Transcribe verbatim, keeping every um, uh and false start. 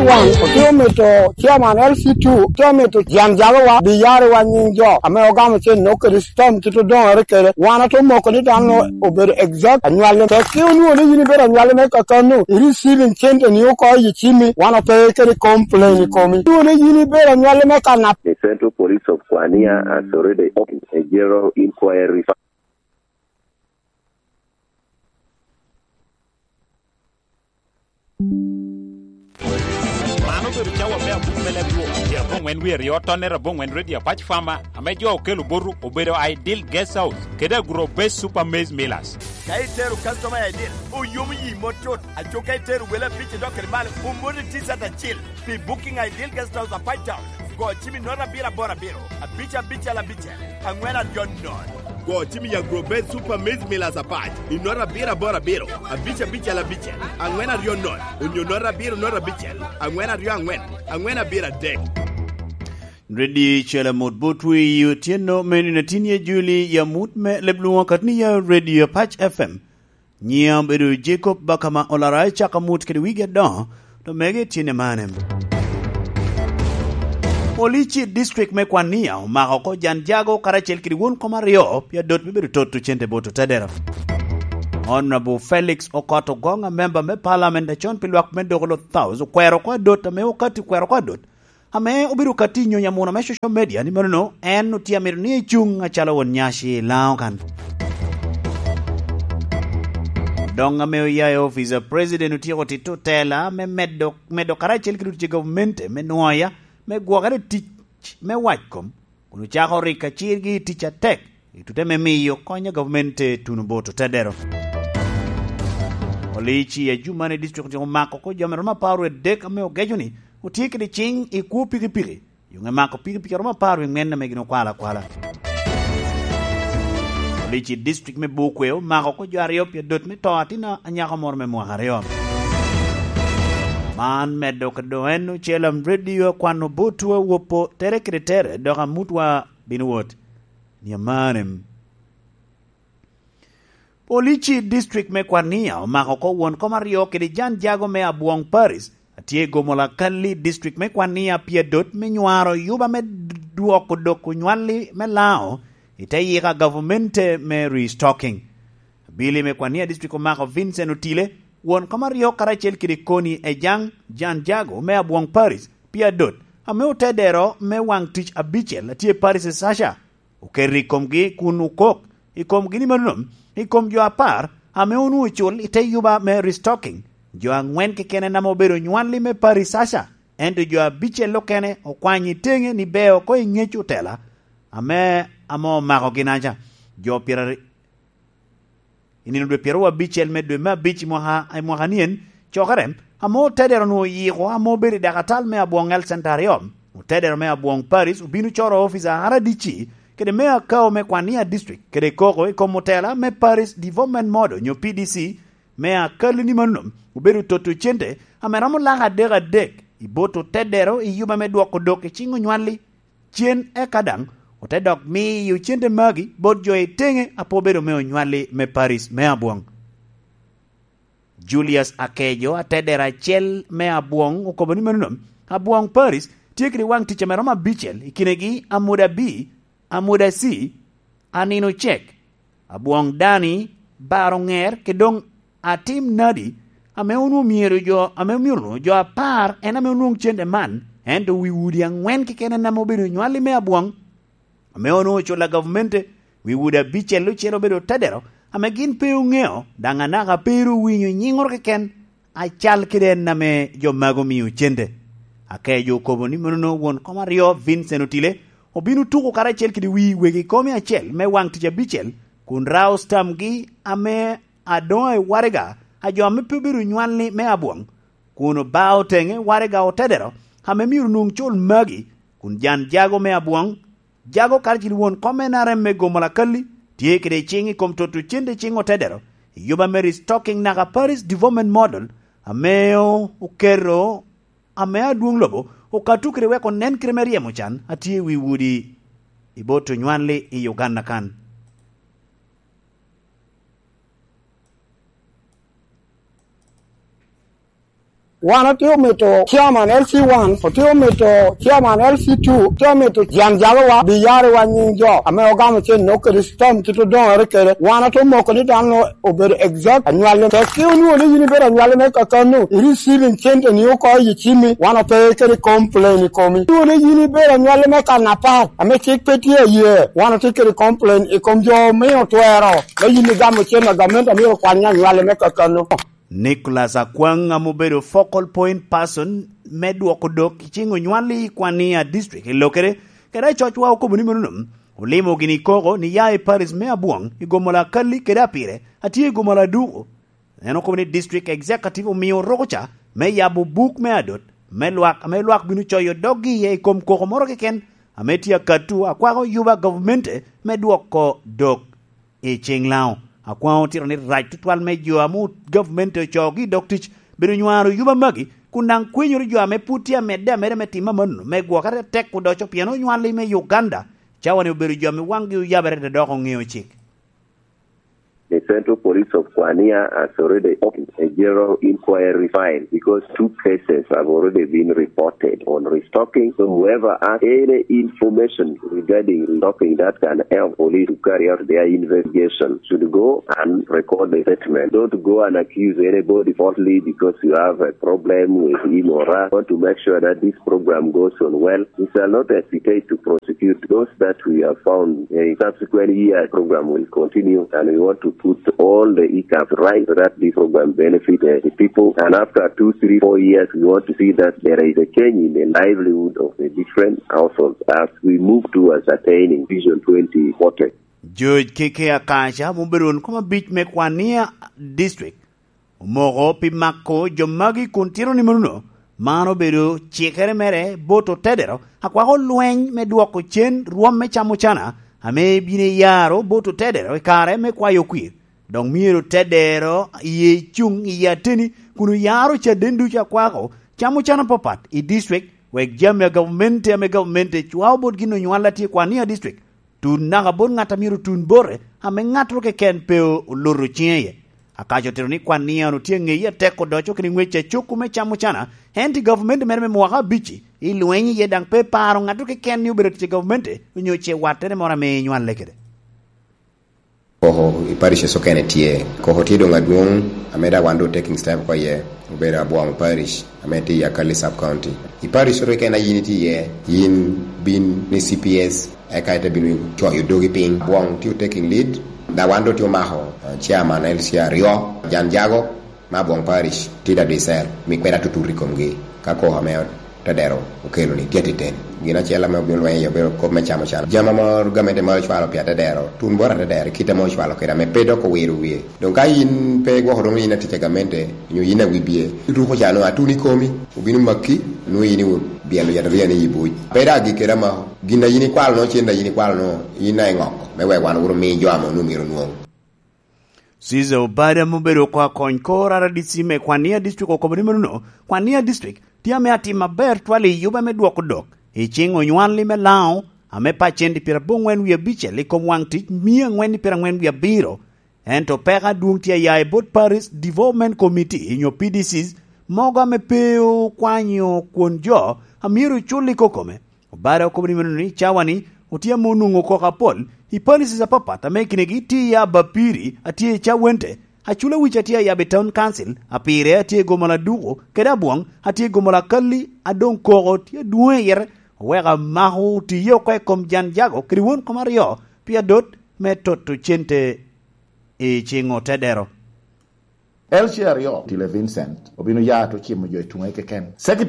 Wan otye omito chairman L C two, otye omito jan jagowa, biyariwa nyiŋ jo ame ogamo cen nok kede stamp kit odoŋere kede. Wan atye omoko ni dano obedo exact anywalli. Tek ki onwoŋo ni yin ibedo anywalli me kakano, i receiving cente ni oko i cimmi, wan ope kede complain i komi. Onwoŋo ni yin ibedo anywalli me kanap. The Central Police of Kwania has already opened a general inquiry. Man obedo cawa me abuk me leb rwok, tye aboŋwen wie aryo, tonnere aboŋwen redio apac fama, ame jo okelo botu obedo Ideal Guest House kede Agro Base Super Maize Millers. Ka itero customer I D, oyomo yi mot tut. Aco ka itero wele abic idok kede malo, omoti T-shirt acil. Pi booking Ideal Guest House apac town, go cim i nota abiro aboro abiro, abic abicel abicel, aŋwen aryo nono. Go cim i Agro Base Super Maize Millers apac i nota abiro aboro abiro, abic abicel abicel, aŋwen aryo nono, onyo nota abiro nota abicel, aŋwen aryo aŋwen, aŋwen abiro adek. Redio Cel Amut Botwi i otyeno me nino atin ye Juli i amut me leb lwoŋo akatni ya Redio Apac F M. Nyiŋa obedo Jacob Bakama Olara, i cako amut kede wigi adoŋo, to mege tyen i mane. Police i district me Kwania omako oko jan jago karacel kede won kom aryo pi adot me bedo toto cente bot otedero. Honorable Felix Okot Ogoŋ, a member me parliament acon pi lwak me Dogolok South, okwero oko adot ame okati okwero oko adot ame obedo ka tiyo nyonyo amuna me social media ni manono en otye amito ni ecuŋ acalo won nyaci i Laŋo kan. Doŋ ame oya i ofice a president otyeko tito tela me medo, medo karacel ki lutye gavumenti me nwoya me gwokere tic me wac kom, kun ocako rik acirgi i tic atek i tute me miyo kony a gavumenti tuno bot otedero. Olici a jumani district omako oko jo me romo apar wie dek ame ogeco ni otye kede ciŋ i kwo pikipiki. Yo ŋe mako pikipiki aromo apar wie ŋwen ame gin okwalo akwala. Police i district me Bukwe omako oko jo aryo pi adot me to atin anyako moro me mwaka aryo. Man medo ka doŋ en ocel am redio akwano botwa wopo tere kede tere dok amutwa bino wot. Ni amanem. Police i district me Kwania omako oko won kom aryo kede jan jago me Abwong Paris, a tye i Gomola Kalli district me Kwania pi adot me nywaro yuba me dwoko dok onywalli me Laŋo i te yika gavumenti me restocking. Abili me Kwania district omako Vincent Otile, won kom aryo karacel kede Koni Ejaŋ, jan jago me Abwong Paris pi adot, ame otedero me waŋ tic abicel a tye Paris Sasha. Oketo i komgi kun okok i komgi ni manono, i kom jo apar ame onwoŋo ocul i te yuba me restocking, jo aŋwen keken en ame obedo nywalli me Paris Sasha, ento jo abicel okene okwanyo i teŋe ni beo oko i ŋec otela ame, ame omako ginaca. Jo pyeraryo I nino dwe pyeraryo abicel me dwe me abic i mwaka, i mwaka nien, cokere ame otedero onwoŋo oyiko ame obedo i dakatal me Abwong Health Center aryo. Otedero me Abwong Paris obino coro ofica R D C kede me Akao me Kwania District kede koko i kom otela me Paris Development Model onyo P D C me Akali ni mano obedo toto cente ame romo lak adek adek i bot otedero i yuba me dwoko dok i ciŋ onywalli. Cen eka daŋ ote dok miyo cente magi bot jo i teŋe a pe obedo me onywalli me Paris me Abwong. Julius Akejo, atedero acel me Abwong, okobo ni manono, Abwong Paris tye kede waŋ tic ame romo abicel, i kinegi Amuda B, Amuda C, Anino Cek, Abwong Dani, Baro Ŋer, kede doŋ Atim Nadi, ame onwoŋo myero jo, ame myero onwoŋo jo apar, en ame onwoŋo cente man, ento wi udi aŋwen keken en ame obedo onywalli me Abwong, ame onwoŋo oculo a gavumenti, wi udi abicel ocel obedo otedero, ame gin pe oŋeo, daŋ anaka pe ru owinyo nyiŋoro keken, acal kede en ame jo magi omio cente. Akejo okobo ni monono won kom aryo, Vincent Otile, obino tuko karacel kede wi wegi komi acel me waŋ tic abicel, kun rao stamgi ame adoŋo i waraga a jo ame pe obedo nywalli me Abwong, kun obao teŋe waraga otedero ame myero onwoŋ cul magi, kun jan jago me Abwong, jago karacel won kom N R M me Gomola Kalli, tye kede ciŋ i kom toto cente ciŋ otedero, i yuba me restocking naka Paris Development Model, ame o-, oketo, ame adwoŋ lobo okato kede wek onen kite me ryemo can a tye i wi udi i bot onywalli i Uganda kan. Wan otye omito chairman L C one, otye omito chairman L C two, otye omito jan jagowa biyariwa nying jo ame ogamo cen nok kede stam kit odoŋere kede. Wan otye omoko ni dano obedo exact anywalli. Tek ki onwoŋo ni yin ibedo anywalli me kakano, i receiving cente ni oko i cimmi, wan ope kede complain i komi. Onwoŋo ni yin ibedo anywalli me kan apat, ame cik pe tye aye, wan otye kede complain i kom jo omio twero, me yin igamo cen a gamente amyero okwany anywalli me kakano. Nicholas Akwaŋ ame obedo focal point person me dwoko dok i cing onywal i Kwania District i Lokere, kede acocwa okobo ni menono, olimo gini koko ni ya i Paris me Abwong i Gomola Kalli kede Apire atye i Gomola Aduku. En okobo ni District Executive omio rukuca me yabo buk me adot me lwak ame lwak bino coyo doggi iye i kom koko moro keken ame tye akatu akwako yuba gavmente me dwoko dok i ciŋ Laŋo. Akwaŋo otito ni rac tutwal me jo ame gavumenti ocoogi i dog tic bedo nywaro yuba magi, kun daŋ kwenyoro jo ame pwod tye amedde ameda me timo amanno me gwokere atek odoco pien onywalli me Uganda cawa-ni obedo jo ame waŋgi oyabere ate dok oŋeo cik. The Central Police of Kwania has already opened a general inquiry file because two cases have already been reported on restocking. So whoever has any information regarding restocking that can help police to carry out their investigation should go and record the statement. Don't go and accuse anybody falsely because you have a problem with him or her. Want to make sure that this program goes on well. We shall not hesitate to prosecute those that we have found. In subsequent years, program will continue, and we want to put all the hiccups right so that this program benefit uh, the people. And after two, three, four years, we want to see that there is a change in the livelihood of the different households as we move towards attaining Vision twenty forty. George Keke Akaca, mubedo won kom abic me Kwania District, omoko pi mako jo magi kun tito ni manono, man obedo cikere mere bot otedero akwako lweny me dwoko cen rwom me camo cana ame bino iyaro bot otedero i kare me kwayo kwir. Dok myero otedero iye cuŋ i ateni kun oyaro caden ducu akwako camo cana papat i district, wek jami a gavumenti ame gavumenti cwao bot gin onywal a tye i Kwania District tun naka bot ŋat a myero tun bote, ame ŋattoro keken pe oloto ciŋe iye. Akaco otito ni Kwania-nu tye aŋeyi atek odoco kede ŋwec a coko me camo cana, ento i gavumenti mere me mwaka abic-ci, i lweny iye daŋ pe paro ŋattoro keken ni obedo tic i gavumenti onyo ce wattere moro ame enywale kede. Koko i parish okene tye. Koko tye doŋ adwoŋ, ame daŋ wan doŋ taking step oko iye, obedo Abwong Parish, ame tye i Akali Sub County. I parish oro keken a yin itye iye, yin bin ni C P S, eka ite bino coyo dogi piny. Abwong tye taking lead, daŋ wan doŋ tye omako, uh, chairman L C aryo, Jan Jago, me Abwong Parish, tye da Dicel, mi kweda tutut i komgi, ka koko ame Tedero okelo ni tye atiten. Gin acel ame obino lweny iye obedo kop me camo can. Jami ame gamente moro ocwalo pi atedero, tun bot atedero, i kite ame ocwalo kede ame pe dok owiro wie. Doŋ ka yin pe igwoko doŋ yin atic a gamente, onyo yin awibie, ituko ca nwoŋo atun i komi, obino maki, nwoŋo yin iwu byelo yataria ni i buc. Pe dok agik kede amako, gin a yin ikwalo nwoŋo, cen a yin ikwalo nwoŋo, yin a iŋoko, me wek wan wuro mi jo ame onwoŋo myero onwoŋ. Caesar Obada ame obedo oko akony kor R D C me Kwania District okobo ni manono, Kwania District tye ame atim aber twal i yuba me dwoko dok i ciŋ onywalli me Laŋo ame pacenti pyeraboŋwen wie abicel i kom waŋ tic mia aŋwen i pyeraŋwen wie abiro. Ento peko adwoŋ tye aya i bot Parish Development Committee nyo P D Cs mogo ame pe okwanyo kwon jo a myero ocul i kokome. Obada okobo ni meno ni cawa-ni otye ame onwoŋo koko apol i policies apapat ame i kinegi tye iye Abapiri a tye i Cawente, Aculawic a tye ayabo i Town Council, Apire a tye i Gomola Aduku, kede Abwong a tye i Gomola Akalli, a doŋ koko tye adwoŋ i yite, oweko amako otiye oko i kom Jan Jago kede won kom aryo pi adot me toto cente i ciŋ otedero. L C aryo, Tile Vincent, obino ya te ocimo jo i tuŋe keken. Secretary